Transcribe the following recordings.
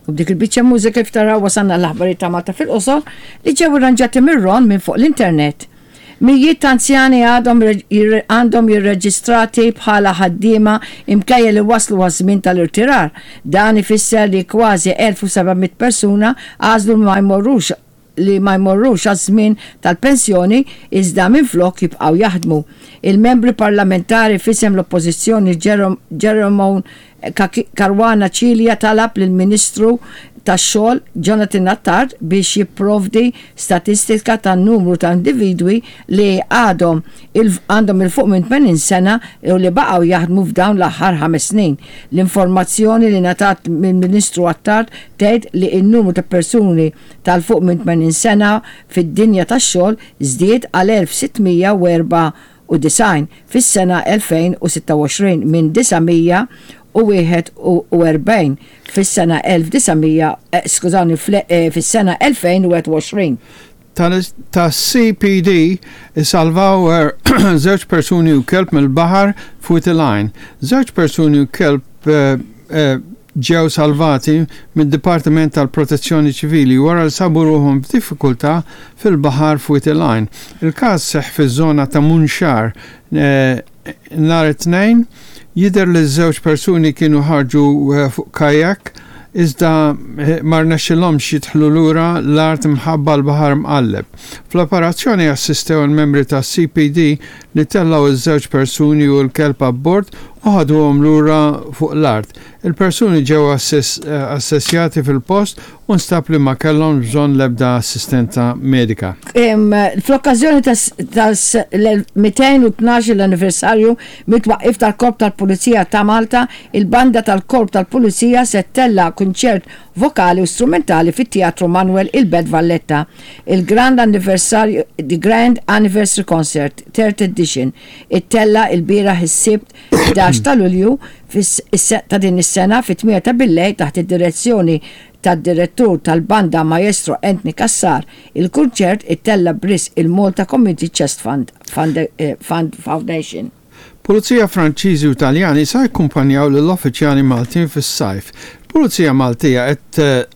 U b'dik il-biċċa mużika kif taraw wasalna l-aħbarijiet ta' Malta fil-qosor li ġew irranġati mir-Ron minn fuq l-internet. Mijiet ta' anzjani għadhom għandhom jirreġistrati bħala ħaddiema imkejja li waslu għaż-żmien tal-irtirar. Dan ifisser li kważi 1,700 persuna għażlu li ma jmorrux li ma jmorrux għaż-żmien tal-pensjoni iżda minflok jibqgħu jaħdmu. Il-Membri Parlamentari f'isem l-Oppożizzjoni Jerome Caruana Cilia talab lill-Ministru tax-Xogħol Jonathan Attard biex jipprovdi statistika tan-numru ta' individwi li għadhom għandhom 'il fuq minn 80 sena u li baqgħu jaħdmu f'dawn l-aħħar ħames snin. L-informazzjoni li ngħatat mill-Ministru Attard tgħid li n-numru ta' persuni ta' 'l fuq minn 80 sena fid-dinja tax-xogħol żdied għal 1,694 fis-sena 2026 minn 941 fis-sena 1900, skużawni, fis-sena 2021. Tas-CPD isalvaw żewġ persuni u kelb mill-baħar f'Wied il-Għajn. Żewġ persuni u kelb ġew salvati mid-Dipartiment tal-Protezzjoni Ċivili wara li sabu ruħhom f'diffikultà fil-baħar f'Wied il-Għajn. Il-każ seħħ fiż-żona ta' Munxar nhar it-Tnejn. Jidher li ż-żewġ persuni kienu ħarġu fuq kajak iżda ma rnexxilhomx jidħlu lura l-art mħabba l-baħar mqalleb. Fl-operazzjoni assistew il-membri tas-CPD li tellgħu ż-żewġ persuni u l-kelb abbord u ħaduhom lura fuq l-art. Il-persuni ġew assessjati fil-post u nstab li ma kellhomx bżonn l-ebda assistenza medika. Fl-okkażjoni tas-212 l-anniversarju mit-twaqqif tal-Korp tal-Pulizija ta' Malta, il-Banda tal-Korp tal-Pulizija se ttella' kunċert vokali u strumentali fit-Teatru Manoel il-Belt Valletta. Il-Grand Anniversarju The Grand Anniversary Concert, Third Edition, ittella' ilbieraħ is-Sibt 11 ta' Lulju ta' din is-sena fit-tmienja ta' billejl taħt id-direzzjoni tad-Direttur tal-Banda Maestro Anthony Cassar. Il-kunċert ittella' b'risq il-Malta Community Chest Fund Fund Foundation. Pulizija Franċiżi u Taljani sa jkkumpanjaw lill-uffiċjali Maltin fis-sajf. Il-Pulizija Maltija qed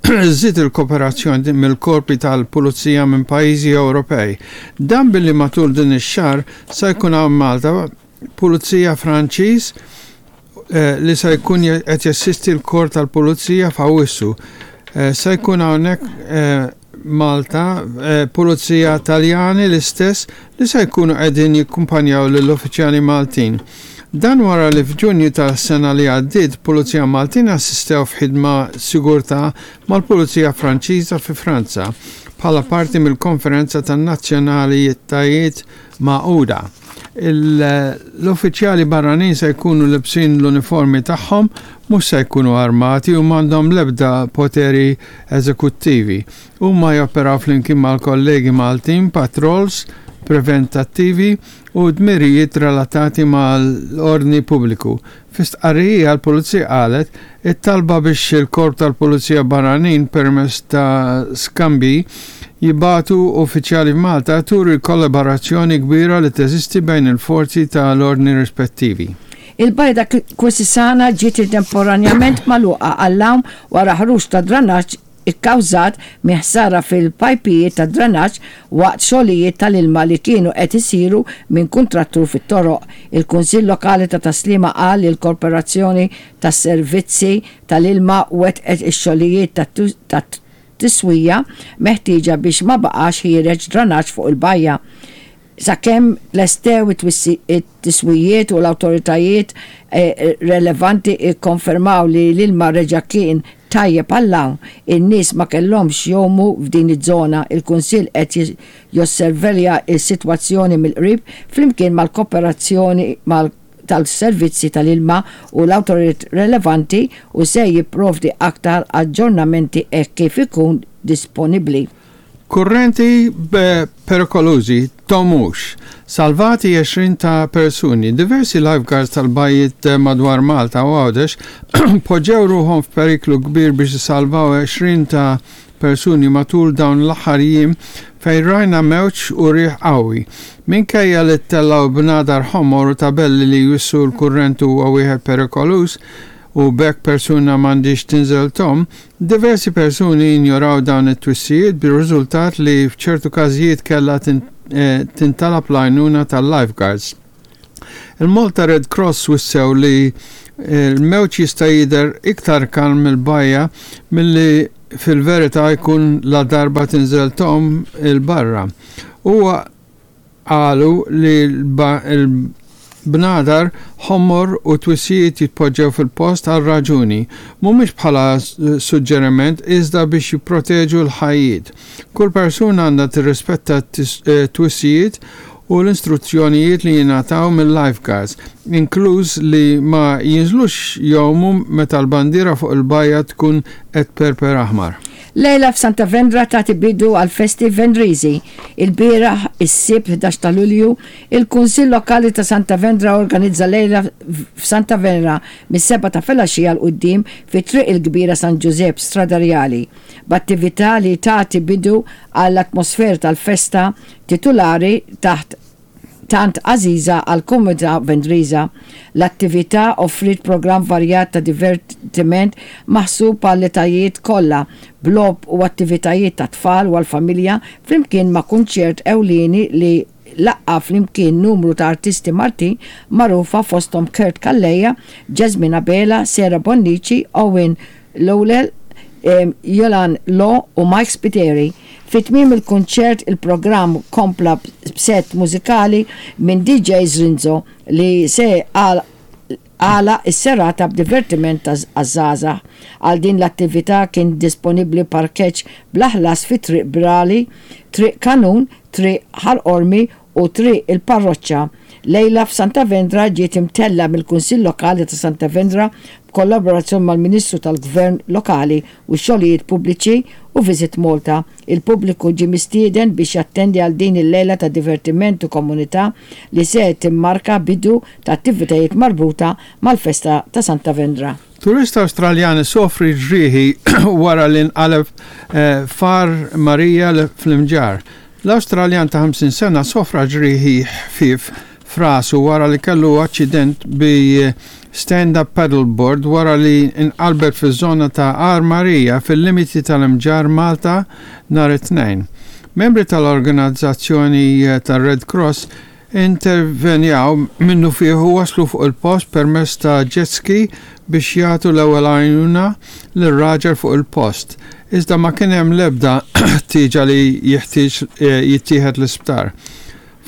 żżid il-koperazzjoni mill-korpi tal-Pulizija minn pajjiżi Ewropej. Dan billi matul din ix-xahar sa jkun hawn Malta Pulizija Franċiż li se jkun qed jassisti l-Korp tal-Pulizija f'Awwissu. Se jkun hawnhekk Malta, Pulizija Taljani l-istess li se jkunu qegħdin jikkumpanjaw lill-uffiċjali Maltin. Dan wara li f'Ġunju tas-sena li għaddiet Pulizija Maltin assistew f'ħidma sigurtà mal-Pulizija Franċiża fi Franza bħala parti mill-Konferenza tan-Nazzjonalitajiet Magħquda. L-uffiċjali barranin se jkunu libsin l-uniformi tagħhom, mhux se jkunu armati u m'għandhom l-ebda poteri eżekuttivi. Huma joperaw flimkien mal-kollegi Maltin patrols preventattivi u dmirijiet relatati mal-ordni pubbliku. Fi stqarrija l-Pulizija qalet it-talba biex il-Korp tal-Pulizija Barranin permezz ta' skambji jibagħtu uffiċjali f'Malta turi l-kollaborazzjoni kbira li teżisti bejn il-forzi ta' l-ordni rispettivi. Il-bajda Quisisana ġiet temporanjament magħluqa għall-għawm wara ħruġ ta' dranaġġ ikkawżat minn ħsara fil-pajpijiet tad-dranaġġ waqt xogħlijiet tal-ilma li kienu qed isiru minn kuntrattur fit-toroq. Il-Kunsill Lokali ta' Tas-Sliema qal li l-Korporazzjoni tas-Servizzi tal-Ilma wettqet ix-xogħlijiet ta' tiswija meħtieġa biex ma baqax ħiereġ dranaġġ fuq il-bajja. Sakemm tlestew it-tiswijiet u l-awtoritajiet relevanti kkonfermaw li l-ilma reġa' kien tajjeb għall-għawm, in-nies ma kellhomx jgħumu f'din iż-żona. Il-Kunsill qed josservelja s-sitwazzjoni mill-qrib flimkien mal-Kooperazzjoni tal-Servizzi tal-Ilma u l-awtoritajiet relevanti u se jipprovdi aktar aġġornamenti hekk kif ikun disponibbli. Kurrenti perikolużi tgħumux. Salvati għexrin ta' persuni. Diversi lifeguards tal-bajjiet madwar Malta u Għawdex poġġew ruħhom f'periklu kbir biex isalvaw għexrin ta' persuni matul dawn l-aħħar jiem fejn rajna mewġ u riħ qawwi. Minkejja li ttellgħu bnadar ħomor u tabelli li jwissu l-kurrent huwa wieħed perikoluż. u b'hekk persuna m'għandhiex tinżel tgħum, diversi persuni injoraw dawn it-twissijiet bir-riżultat li f'ċertu każijiet kellha tintalab l-għajnuna tal-lifeguards. Il-Malta Red Cross wissew li l-mewġ jista' jidher iktar kalm mill-bajja milli fil-verità jkun ladarba tinżel tgħum 'il barra. Huwa qalu li l-bnadar ħomor u twissijiet jitpoġġew fil-post għal raġuni, mhumiex bħala suġġeriment iżda biex jipproteġu l-ħajjiet. Kull persuna għandha tirrispetta t-twissijiet u l-instruzzjonijiet li jingħataw mil-lifeguards, inkluż li ma jinżlux jgħumu meta l-bandiera fuq il-bajja tkun qed tperper aħmar. Lejla f'Santa Vendra tagħti bidu għall-festi Vendriżi. Ilbieraħ, is-Sibt 11 ta' Lulju, il-Kunsill Lokali ta' Santa Vendra organizza lejla f'Santa Venera mis-sebgħa ta' filgħaxija 'l quddiem fi Triq il-Kbira San Ġużepp, Strada Rjali, b'attività li tagħti bidu għall-atmosfera tal-festa titulari taħt tant għażiża għall-komunità Vendriża. L-attività offriet programm varjat ta' divertiment maħsub għall-etajiet kollha, b'logħob u attivitajiet tat-tfal u għall-familja flimkien ma' kunċert ewlieni li laqqa' flimkien numru ta' artisti Maltin magħrufa fosthom Kurt Calleja, Jasmine Abela, Sarah Bonnici, Owen Lowell, Jolan Law u Mike Spiteri. Fi tmiem il-kunċert il-programm kompla b'sett mużikali minn DJ Zrinzo li se għalaq is-serata b'divertiment għaż-żgħażagħ. Għal din l-attività kien disponibbli parkeġġ bla ħlas fi Triq Brali, Triq Kanun, Triq Ħal Qormi u Triq il-Parroċċa. Lejla f'Santa Vendra ġiet imtellgħa mill-Kunsill Lokali ta' Santa Vendra b'kollaborazzjoni mal-Ministru tal-Gvern Lokali u x-Xogħlijiet Pubbliċi u Visit Malta. Il-pubbliku ġie mistieden biex jattendi għal din il-lejla ta' divertiment u komunità li se timmarka bidu ta' attivitajiet marbuta mal-festa ta' Santa Vendra. Turist Awstraljan isofri ġrieħi wara li nqaleb f'Għar Marija fl-Imġarr. L-Awstraljan ta' 50 sena sofra ġrieħi ħfief f'rasu wara li kellu aċċident bi stand-up paddleboard wara li nqalbet fiż-żona ta' Għar Marija fil-limiti tal-Imġarr Malta nhar it-Tnejn. Membri tal-organizzazzjoni tar-Red Cross intervenjaw minnufih u waslu fuq il-post permezz ta' jet ski biex jagħtu l-ewwel għajnuna lir-raġel fuq il-post, iżda ma kien hemm l-ebda ħtieġa li jeħtieġ jittieħed l-isptar.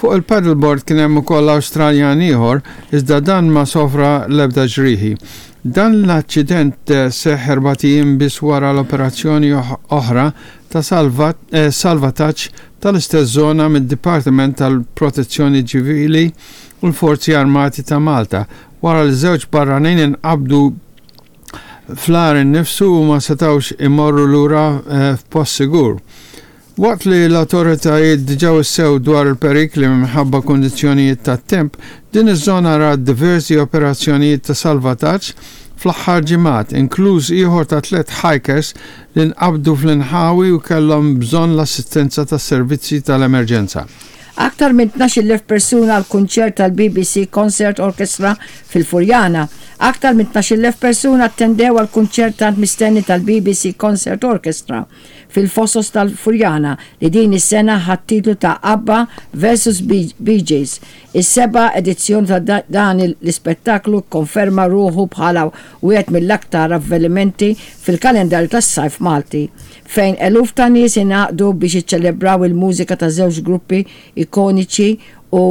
Fuq il-paddleboard kien hemm ukoll Awstraljan ieħor, iżda dan ma sofra l-ebda ġrieħi. Dan l-aċċident seħħ erbat ijiem biss wara l-operazzjoni oħra ta' salvataġġ tal-istess żona mid-Dipartiment tal-Protezzjoni Ċivili u l-Forzi Armati ta' Malta wara li żewġ barranin inqabdu fl-għar innifsu u ma setgħux imorru lura f'post sigur. Waqt li l-awtoritajiet diġà wissew dwar il-perikli minħabba kundizzjonijiet tat-temp, din iż-żona rat diversi operazzjonijiet ta' salvataġġ fl-aħħar ġimgħat, inkluż ieħor ta' tlett hikers li nqabdu fl-inħawi u kellhom bżonn l-assistenza tas-servizzi tal-emerġenza. Aktar minn 12,000 persuna għal kunċert tal-BBC Concert Orchestra fil-Furjana. Aktar minn 12,000 persuna attendew għal kunċert tant mistenni tal-BBC Concert Orchestra fil-Fosos tal-Furjana li din is-sena ħa t-titlu ta' ABBA vs Bee Gees. Is-seba' edizzjoni ta' dan l-ispettaklu kkonferma ruħu bħala wieħed mill-aktar avvenimenti fil-kalendarju tas-sajf Malti, fejn eluf ta' nies ingħaqdu biex jiċċelebraw il-mużika ta' żewġ gruppi ikoniċi u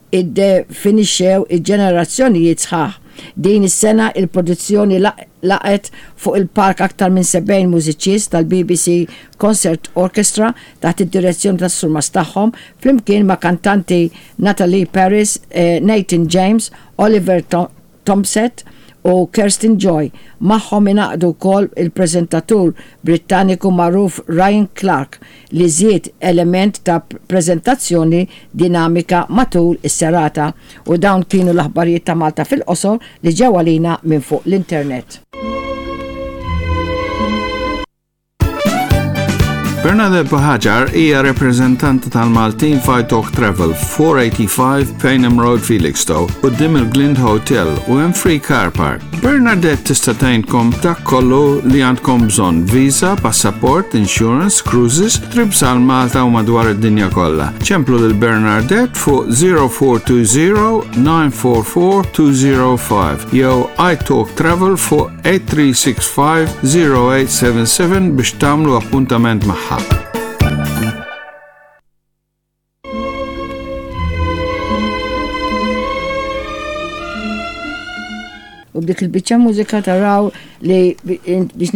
iddefinixxew ġenerazzjonijiet sħaħ. Din is-sena il-produzzjoni laqgħet fuq il-palk aktar minn 70 mużiċist tal-BBC Concert Orchestra taħt id-direzzjoni tas-surmast tagħhom, flimkien ma' kantanti Natalie Paris, Nathan James, Oliver Tompsett u Kirsten Joy. Magħhom ingħaqdu wkoll il-preżentatur Brittaniku magħruf Ryan Clark li żied element ta' preżentazzjoni dinamika matul is-serata. U dawn kienu l-aħbarijiet ta' Malta fil-qosor li ġew għalina minn fuq l-internet. Bernadette Buhagiar hija repreżentanta tal-Maltin f'Italk Travel, 485 Payneham Road, Felixstowe, quddiem il-Glind Hotel u hemm free car park. Bernadette tista' tgħinkom dak kollu li għandkom bżonn, visa, passaport, insurance, cruises, trips għal Malta u madwar id-dinja kollha. Ċemplu lil Bernadette fuq 0420 944 205 jew iTalk Travel fuq 8365 0877 biex tagħmlu appuntament magħha. U b'dik il-biċċa mużika taraw li biex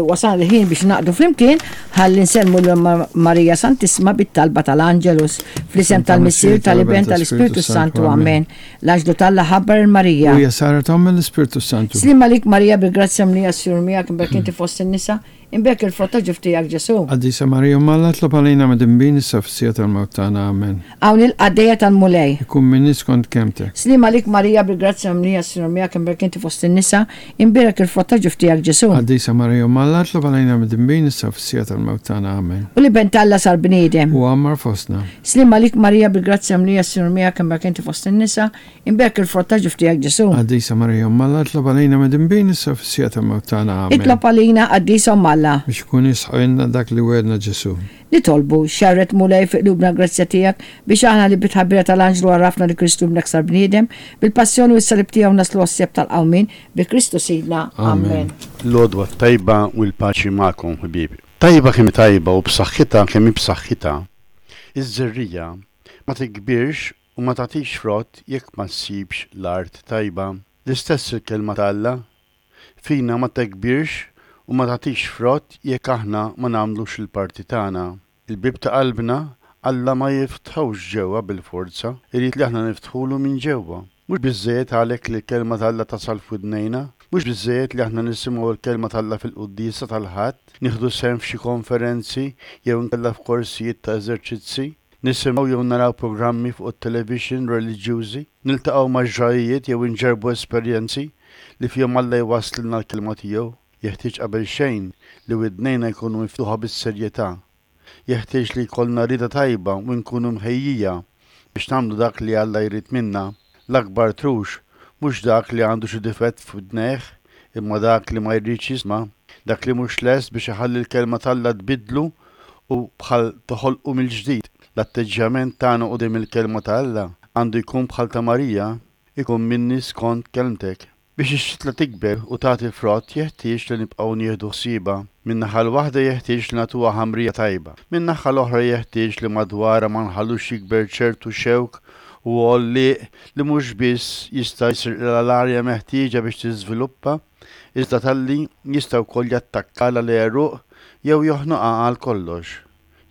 wasal il-ħin biex naqdu flimkien ħalli nsemmu l Marija Santissima bit-talba tal-Angelus fl-isem tal-Missier tal-Iben tal-Ispirtu Santu. Amen. L-anġlu t'Alla ħabbar 'il Marija. U hija saret omm mill-Ispirtu s-Santu. Sliem għalik Marija bil-grazzja mlija s-Sinjur miegħek imbierek inti fost in-nisa, imbierek il-frott ta' ġuf tiegħek Ġesù. Qaddisa Marija Omm Alla itlob għalina midinbin issa fis-siegħa tal-mewt tagħna. Amen. Hawn il-qaddejja tal-Mulej. Ikun minni skont kelmtek. Sliem għalik Marija bil-grazzja mlija s-Sinjur miegħek imbierek inti fost in-nisa, imbierek il-frott ta' ġuf tiegħek Ġesù. Qaddisa Marija Omm Alla itlob għalina midinbin issa fis-siegħa tal-mewt tagħna. Amen. U l-Iben t'Alla sar bniedem. U għammar fostna. Sliem għalik Marija bil-grazzja mlija s-Sinjur miegħek imbierek inti fost in-nisa, imbierek il-frott ta' ġuf tiegħek Ġesù. Qaddisa Marija Omm Alla itlob għalina midinbin issa u fis-siegħa tal-mewt tagħna. Amen. Itlob għalina Qaddisa Omm Alla. Biex ikun jisħqilna dak li wegħedna Ġesù. Nitolbu, xerred Mulej fi qlubna l-grazzja tiegħek biex aħna li bit-tħabbira tal-anġlu għarrafna li Kristu Ibnek sar bniedem, bil-passjoni u s-salib tiegħu naslu għas-seb tal-qawmien, bi Kristu Sidna. Amen. L-għodwa t-tajba u l-paċi magħkom ħbieb. Tajba kemm hi tajba u b'saħħitha kemm hi b'saħħitha. Iż-żerriegħa ma tikbirx u ma tagħtix frott jekk ma ssibx l-art tajba. L-istess il-Kelma ta' Alla, fina ma tekbirx u ma tagħtix frott jekk aħna ma nagħmlux il-parti tagħna. Il-bieb ta' qalbna Alla ma jiftħux ġewwa bil-forza, irid li aħna niftħulu minn ġewwa. Mhux biżżejjed għalhekk li l-Kelma ta' Alla tasal f'widnejna, mhux biżżejjed li aħna nisimgħu l-Kelma t'Alla fil-quddiesa tal-Ħadd, nieħdu sehem f'xi konferenzi jew inkella f'korsijiet ta' eżerċizzi, nisimgħu jew naraw programmi fuq it-televixin reliġjużi, niltaqgħu ma' ġrajjiet jew inġarrbu esperjenzi li fihom Alla jwasslilna l-Kelma tiegħu. Jeħtieġ qabelxejn li widnejna jkunu miftuħa bis-serjetà Jeħtieġ li jkollna rieda tajba u nkunu mħejjija biex nagħmlu dak li Alla jrid minna. L-akbar trux mhux dak li għandu xi difett f'widnejh, imma dak li ma jridx jisma', dak li mhux lest biex iħalli l-Kelma t'Alla tbiddlu u bħal toħolqu mill-ġdid. L-atteġġjament tagħna quddiem il-Kelma ta' Alla għandu jkun bħal ta' Marija, Ikun minni skont kelmtek. Biex ix-xitla tikber u tagħti l-frott jeħtieġ li nibqgħu nieħdu ħsiebha. Min-naħa l-waħda jeħtieġ li nagħtuha ħamrija tajba. Min-naħa l-oħra jeħtieġ li madwarha ma nħallux jikber ċertu xewk u għollieq li mhux biss jista' jisirqilha l-arja meħtieġa biex tiżviluppa, iżda talli jista' wkoll jattakkalha l-għeruq jew joħnoqha għal kollox.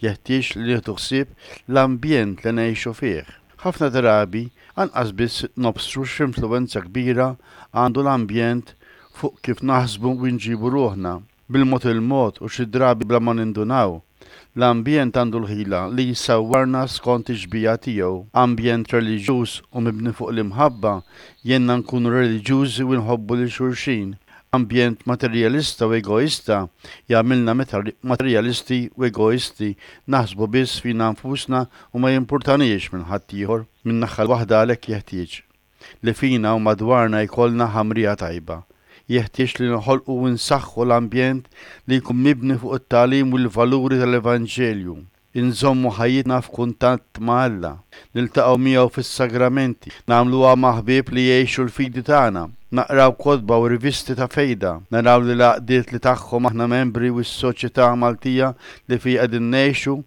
Jeħtieġ li nieħdu ħsieb l-ambjent li ngħixu fih. Ħafna drabi anqas biss nobsru x'influwenza kbira għandu l-ambjent fuq kif naħsbu u nġibu ruħna. Bil-mod il-mod u xi drabi bla ma nindunaw, l-ambjent għandu l-ħila li jsawwarna skont ix-xbieha tiegħu. Ambjent reliġjuż u mibni fuq l-imħabba jgħinna nkunu reliġjużi u nħobbu lil xulxin. Ambjent materjalista u egoista jagħmilna materjalisti u egoisti, naħsbu biss fina nfusna u ma jimpurtaniex minn ħaddieħor. Min-naħa l-waħda għalhekk jeħtieġ li fina u madwarna jkollna ħamrija tajba. Jeħtieġ li noħolqu u nsaħħu l-ambjent li jkun mibni fuq it-tagħlim u l-valuri tal-Evanġelju. Inżommu ħajjitna f'kuntatt ma' Alla, niltaqgħu miegħu fis-sagramenti, nagħmluha ma' ħbieb li jgħixu l-fidi tagħna, naqraw kotba u rivisti ta' fejda, naraw li l-għaqdiet li tagħhom aħna membri u s-soċjetà Maltija li fiha qegħdin ngħixu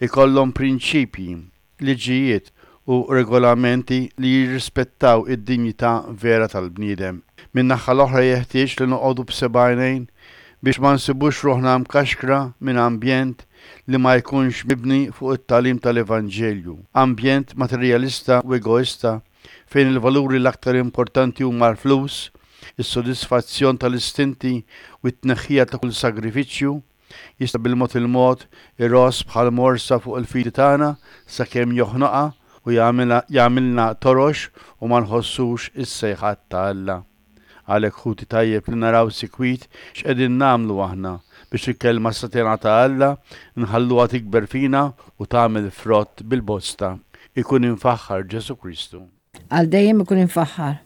jkollhom prinċipji, liġijiet u regolamenti li jirrispettaw id-dinjità vera tal-bniedem. Min-naħa l-oħra jeħtieġ li noqogħdu b'seba' għajnejn biex ma nsibux ruħna mkaxkra minn ambjent li ma jkunx mibni fuq it-tagħlim tal-Evanġelju, ambjent materjalista u egoista fejn il-valuri l-aktar importanti huma l-flus, is-sodisfazzjon tal-istinti u t-tneħħija ta' kull sagrifiċċju. Jista' bil-mod il-mod iross bħal morsa fuq il-fidi tagħna sakemm joħnoqha u jagħmilna torox u ma nħossux is-sejħat ta' Alla. Għalhekk ħuti tajjeb li naraw sikwit x'qegħdin nagħmlu aħna biex il-kelma satena ta' Alla nħalluha tikber fina u tagħmel frott bil-bosta. Ikun imfaħħar Ġesù Kristu. Għal dejjem ikun imfaħħar.